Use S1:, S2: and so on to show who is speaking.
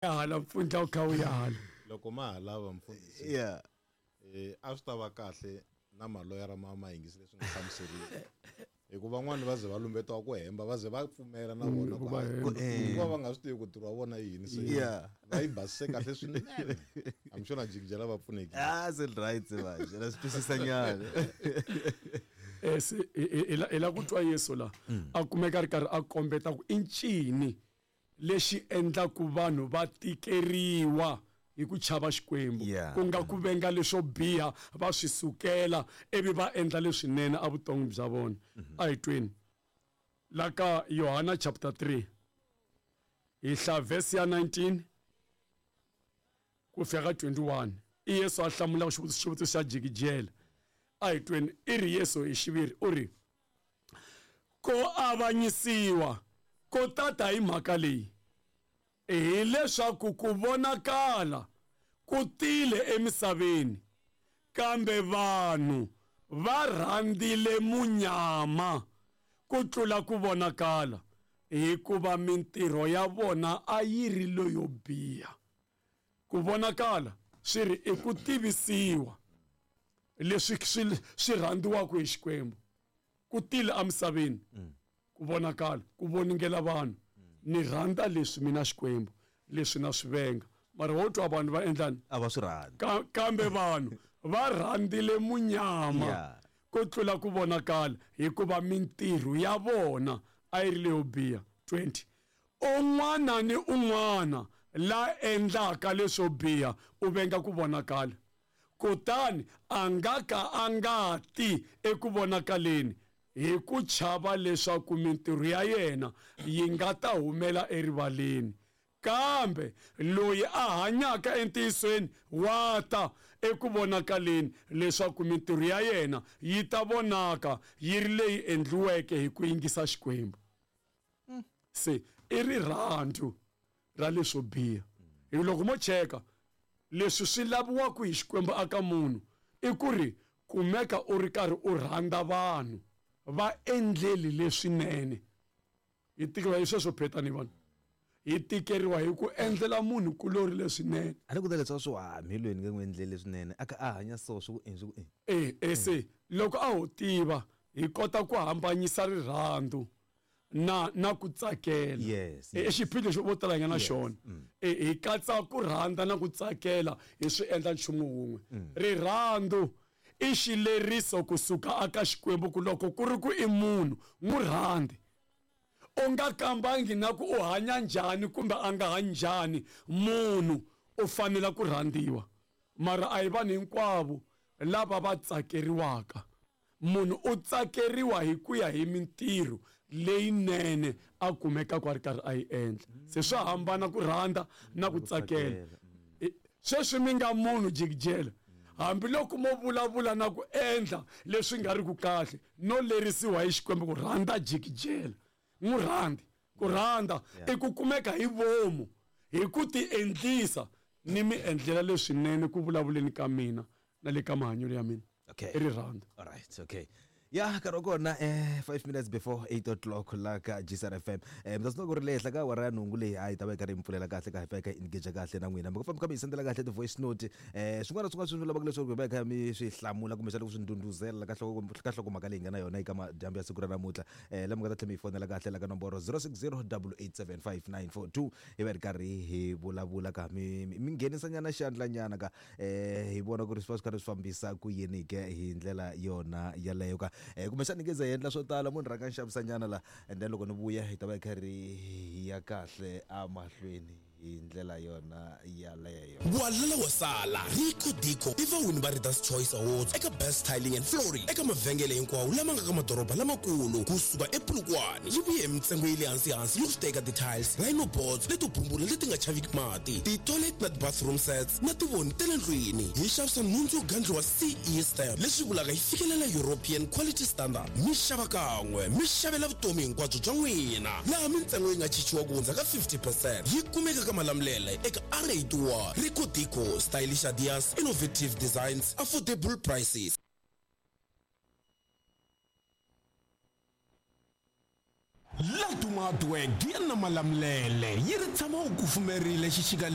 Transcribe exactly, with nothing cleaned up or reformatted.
S1: Hala mpfundla wu kha wu ya hala.
S2: Loko ma ha lava mfundhisi.
S3: Yeah.
S2: Eh a swi ta va kahle na maloyara ma ma yingisi leswi nga hlamuseriwa. Hikuva van'wani va ze va lumbetiwa ku hemba va ze va pfumela na vona
S1: ku va hemba.
S2: Hikuva va nga swi tivi ku ntirho wa vona i yini se
S3: Yeah.
S2: va yi basise kahle swinene. I'm sure na jikijela va pfunekile.
S3: Ah, se right manje. La swi twisisa nyana.
S1: Eh se i la ku twa Yesu la a kumeka ri karhi a kombeta ku i ncini lexi endlaku vanhu va tikeriwa hi ku chava Xikwembu,
S3: Yeah.
S1: ku nga ku venga leswo biha va swi sukela ivi va endla leswinene evuton'wini bya vona. A hi tweni la ka Yohana chapter three hi hla verse ya nineteen ku fika ka twenty-one. I Yesu a hlamula xivutiso xivutiso xa jikijela. A hi tweni i ri Yesu hi xiviri u ri ko avanyisiwa ko tata hi mhaka leyi hileswaku ku vonakala ku tile emisaveni kambe vanhu va rhandzile munyama ku tlula ku vonakala hikuva mintirho ya vona a yi ri leyo biha. Ku vonakala swi ri i ku tivisiwa leswi swi swi rhandziwaka hi Xikwembu ku tile emisaveni ku vonakala ku voningela vanhu. Ni rhandza leswi mina Xikwembu leswi na swi venga mara wo twa vanhu va endlani
S3: A va swi rhandzi.
S1: Ka- kambe vanhu va rhandzile munyama
S3: Yeah.
S1: ku tlula ku vonakala hikuva mintirho ya vona a yi ri leyo biha. twenty un'wana ni un'wana la endlaka leswo biha u venga ku vonakala kutani a nga ka a nga ti eku vonakaleni hi ku chava leswaku mintirho ya yena yi nga ta humela erivaleni. Kambe loyi a hanyaka entiyisweni wa ta eku vonakaleni leswaku mintirho ya yena yi ta vonaka yi ri leyi endliweke hi ku yingisa Xikwembu. Se i rirhandzu ra leswo biha. Hi loko mo cheka leswi swi laviwaka hi Xikwembu aka munhu i ku ri kumeka u ri karhi u rhandza vanhu va endleli leswinene. Hi tikeriwa hi sweswo phetani vanhu. Hi tikeriwa hi ku endlela munhu kulori leswinene.
S3: A ni ku ta leswaku swi wa mbilweni nge n'wi endleli leswinene a ka a hanya so swi ku endli swi ku endli.
S1: Eh eh se loko a ho tiva hi kota ku hambanyisa rirhandzu na na ku tsakela.
S3: Yes,
S1: Eh, i
S3: yes.
S1: xiphiqo xo vo tala hi nga na
S3: Yes.
S1: xona. Eh, hi katsa ku rhandza na ku tsakela hi swi endla nchumu wun'we. Rirhandzu i xileriso kusuka aka Xikwembu ku loko ku ri ku i munhu n'wi rhandzi. U nga kambangi na ku u hanya njhani kumbe a nga hanyi njhani, munhu u fanele ku rhandziwa. Mara a hi vanhu hinkwavo lava va tsakeriwaka. Munhu u tsakeriwa hi ku ya hi mintirho leyinene a kumekaka a ri karhi a yi endla. Se swa hambana ku rhandza na ku tsakela. Eh, sweswi mi nga munhu jikijela hambiloko mo vulavula na ku endla leswi nga ri ku kahle no lerisiwa hi Xikwembu ku rhandza jikijela n'wi rhandzi. Ku rhandza i ku kumeka hi vomu hi ku ti endlisa ni mi endlela leswinene ku vulavuleni ka mina na le ka mahanyelo ya mina.
S3: Okay.
S1: I rirhandzu.
S3: All right, okay. Ya nkarhi wa kona eh five minutes before eight o'clock la ka G S R F M. Eh mi ta swi tiva ku ri le henhla ka awara ya nhungu leyi a yi ta va yi karhi yi mi pfulela kahle ka hi fika hi engage kahle na n'wina. Mi nga famba kha mi hi sendela kahle ti-voice note. Eh swin'wana na swin'wana swi lavaka leswaku hi va hi kha mi swi hlamula kumbexana ku swi ndhundhuzela ka nhloko ka nhlokomhaka leyi hi nga na yona eka madyambu ya siku ra namuntlha. Eh la mi nga ta tlhela mi hi fonela kahle la ka nomboro zero six zero double eight seven five nine four two hi va hi ri karhi hi vulavula ka mi mi nghenisa nyana xandla nyana ka eh hi vona ku ri swi va swi karhi swi fambisa ku yini ke hi ndlela yona yaleyo ka. Eh kumbexana ni nge ze hi endla swo tala munhu rhanga ni xavisa nyana la and then loko ni vuya hi ta va hi karhi hi ya kahle emahlweni hi ndlela yona yaleyo.
S4: Walala wa sala Rico Dico i vawini va Readers Choice Awards eka Best Tiling and Flooring eka mavhengele hinkwawo lama nga ka madoroba lamakulu kusuka ePolokwane. Yi vuye hi mintsengo ya le hansi hansi yo swi teka ti-tiles, rhino boards leto bumbula leti nga chaviki mati, ti-toilet na ti-bathroom sets na tivoni ta le ndlwini. Hi xavisa nhundzu yo gandliwa C E stamp leswi vulaka yi fikelela European Quality Standard. Mi xava kan'we mi xavela vutomi hinkwabyo bya n'wina laha mintsengo yi nga chichiwa ku hundza ka fifty percent. Yi kumeka ka Malamulele eka R eighty-one. Rico Dico, stylish ideas, innovative designs, affordable prices.
S5: La
S4: Laduma Hardware, Giya na Malamulele yi ri tshama u kufumerile xixika.